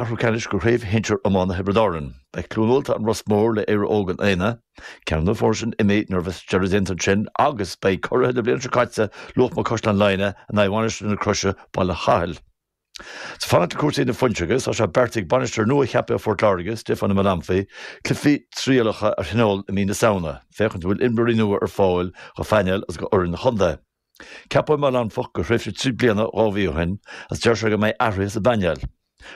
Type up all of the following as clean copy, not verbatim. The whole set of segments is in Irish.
Ceathrú ceannais de Chraobh Shinsir Iomána Thiobraid Árann. Beidh Cluain Ulta An Ros Mór le Éire Óg an Aonaigh, ceann de na foirne sin imithe nuair a bheas deireadh déanta ansin agus beidh curaithe na bliana seo caite Luachma-Caisleán Laighin in aghaidh Mhainistir na Croise Baile Chathail. Ag fanacht le cúrsaí na fuinseoige, tá sé beartaithe ag bainisteoir nua-cheaptha Phort Láirge, Stefano Malumphy, cluichí trialacha a thionól i mí na Samhna, féachaint an bhfuil imreoirí nua ar fáil do phainéal agus do fhoireann an chontae. Ceapadh Malumphy do thréimhse 3 bliana 2 mhí ó shin agus deir sé go mbeidh athruithe sa bpainéal.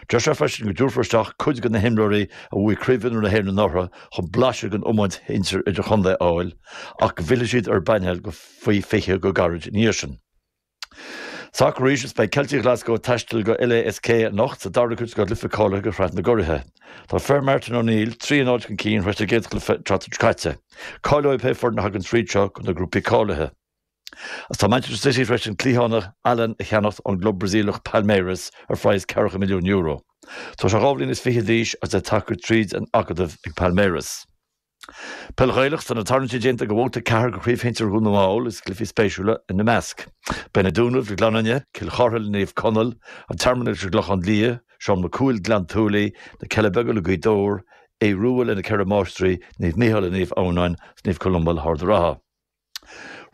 Deir sé freisin go dtabharfar isteach cuid de na himreoirí a bhuaigh Craobh Mhionúir na hÉireann anuraidh chun blaiseadh den iomáint shinsir idirchontae a fháil ach go bhfillfidh siad ar an bpainéal go faoi 20 go gairid ina dhiaidh sin. Sacar arís is beidh Ceiltigh Ghlaschú ag taisteal go LASK anocht sa dara cuid de chluiche cáilithe do Shraith na gCuraithe. Tá fir Martin O'Neill 3-0 chun cinn tar éis a gcéad chluiche an tseachtain seo caite. Cáileoidh pé foireann a thagann tríd seo do na grúpaí cáilithe. Agus tá Manchester City tar éis an cliathánach Allan a cheannacht ón gclub Brasaíleach Palmeiras ar phraghas ceathracha milliún euro. Tá sé 2 bhliain is fiche d'aois agus é tagtha tríd an acadamh ag Palmeiras. Peil Ghaelach, Tá na tarraingtí déanta do bhabhta 4 de Chraobh Shinsir Dhún na nGall agus cluichí spéisiúla ina measc. Beidh Na Dúnaibh le Gleann Fhinne, Cill Chartha le Naomh Conaill, An Tearmann leis an gClochán Liath, Seán Mac Cumhaill Gleann tSúilí, Na Cealla Beaga le Gaoth Dobhair, Aodh Rua le Na Ceithre Máistrí, Naomh Mícheál le Naomh Adhamhnáin agus Naomh Columba le hArd an Rátha.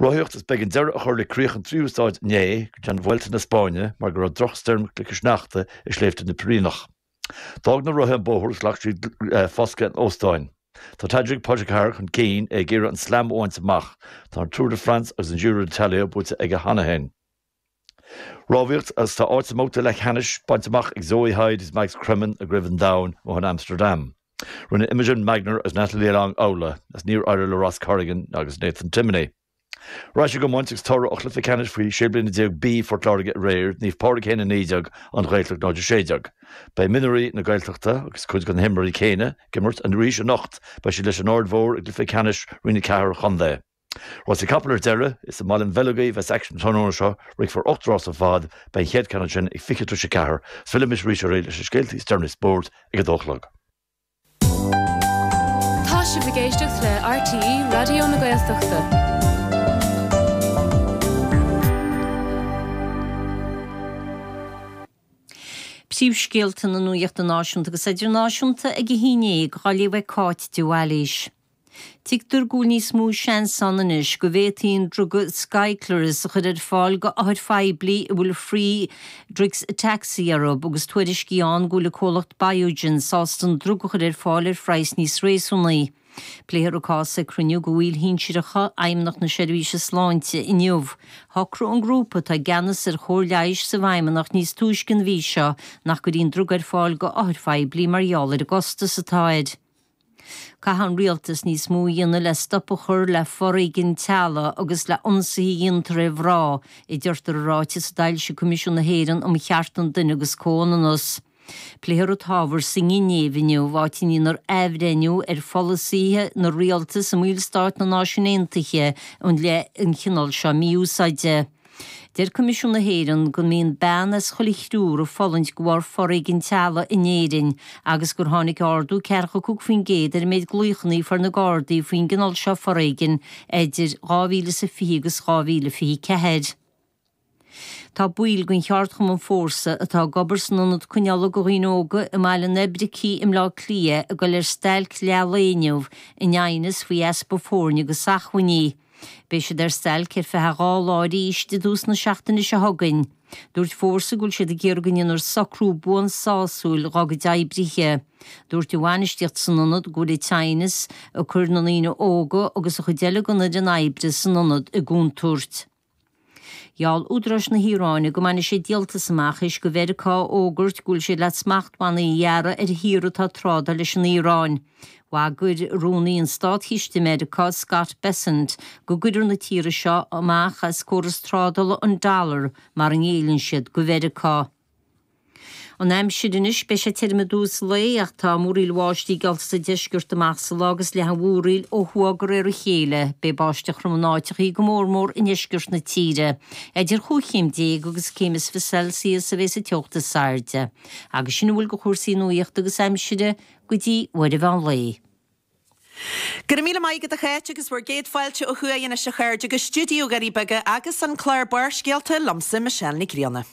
Rothaíocht Is b'éigean deireadh a chur le críoch an tríú staid inné den Vuelta na Spáinne mar go raibh drochstoirm chloiche sneachta i sléibhte na bPiréineach. D'fhág na rothaithe an bóthar agus ghlac siad foscadh in óstáin. Tá Tadej Pogacar chun cinn, é ag iarraidh an Slam a bhaint amach. Tá an Tour de France agus an Giro d'Italia buaite aige cheana féin. Rámhaíocht Agus tá áit sa mbabhta leathcheannais bainte amach ag Zoe Hyde agus Mags Cremen i gCraobh an Domhain amuigh in Amsterdam. Rinne Imogen Magner agus Natalie Long amhlaidh agus níor éirigh le Ross Corrigan agus Nathan Timoney. Ar ais ag iomáint agus toradh ó chluiche ceannais faoi 16 bliana B Phort Láirge aréir, Naomh Pádraig 1-19, An Ghaeltacht 0-16. Beidh mionúirí na Gaeltachta agus cuid de na himreoirí céanna ag imirt arís anocht. Beidh siad leis an Aird Mhór i gcluiche ceannais Roinn 4 an chontae. Rásaí capall ar deireadh, is i mBaile an Bheilg a bheas aicsean an tráthnóna seo, rithfear 8 rás ar fad, beidh an chéad ceann ansin ag 3:40, is fillfidh mise arís oraibh leis na scéaltaí is deireanaí spóirt ag a dó a chlog. Tá sibh ag éisteacht le RTÉ Raidió na Gaeltachta. Príomhscéalta na nuachta náisiúnta agus idirnáisiúnta ag a haon déag á léamh ag Cáit de Bhailís. Tuigtear go bhfuil níos mó seans ann anois go bhféadfaí an druga Skyclarys a chur ar fáil go othair phoiblí a bhfuil Friedreich's ataxia orthu agus tuairiscí ann go bhfuil an comhlacht Biogen sásta an druga a chur ar fáil ar phraghas níos réasúnaí. Pléifear an cás ag cruinniú de bhaill shinsearacha Fheidhmeannacht na Seirbhíse Sláinte inniu. Shocraigh an grúpa atá i gceannas ar chóir leighis sa bhFeidhmeannacht níos túisce an mhí seo nach gcuirfí an druga ar fáil go othair phoiblí mar gheall ar an gcostas atá air. Caithfidh an rialtas níos mó a dhéanamh le stop a chur le foréigean teaghlaigh agus le ionsaithe a dhéantar ar mhná, a deirtear i ráiteas a d'fhoilsigh Coimisiún na hÉireann um Chearta an Duine agus Comhionannas. Pléifear an t-ábhar sa nGinéiv inniu, áit a ndéanfar athbhreithniú ar pholasaithe na rialtas i mballstáit na Náisiún Aontaithe i leith an chineál seo mí-úsáide. Deir Coimisiún na hÉireann go mbíonn bean as chuile thriúr ag fulaingt de bharr foréigean teaghlaigh in Éirinn agus gur tháinig ardú 45% ar an méid glaochanna a fuair na Gardaí faoin gcineál seo foréigin idir 2020 agus 2024. Tá baill den cheardchumann Fórsa atá ag obair san ionad coinneála do dhaoine óga i mBaile an Oibricigh i mBleá Cliath ag dul ar stailc leath lae inniu in aighneas faoi easpa foirne agus acmhainní. Beidh siad ar stailc ar feadh 2 lá arís i dtús na seachtaine seo chugainn. Dúirt Fórsa go bhfuil siad ag iarraidh go ndéanfar socrú buan sásúil dhá gcuid oibrithe. Dúirt an bhainistíocht san ionad go bhfuil an t-aighneas ag cur na ndaoine óga agus an chuid eile den fhoireann oibre san ionad i gcontúirt. Gheall údaráis na hIaráine go mbainfidh siad díoltas amach théis do Mheiriceá a fhógairt go bhfuil siad le smachtbhannaí a ghearradh ar thíortha atá ag trádáil leis an Iaráin. Bhagair Rúnaí an Státchiste i Meiriceá, Scott Bessent, go gcuirfear na tíortha seo amach as córas trádála an dollar mara ngéilleann siad do Mheiriceá. An aimsir anois, beidh sé tirim i dtús an lae ach tá múraíl bháistí geallta sa deisceart amach sa lá agus leathfaidh an mhúraíl ó thuaidh de réir a chéile. Beidh báisteach throm in áiteachaí, go mór mór i ndeisceart na tíre. Idir chúig chéim déag agus céim is 20 Celsius a bheas an teocht is airde. Agus sin a bhfuil de chúrsaí nuachta agus aimsire go dtí uair an mheán lae. Go raibh míle maith agat a Cháit agus bhur gcéad fáilte ó thuaidh anois a chairde go stiúideo Dhoirí Beaga agus an clár Barrscéalta liomsa Michelle Nic Grianna.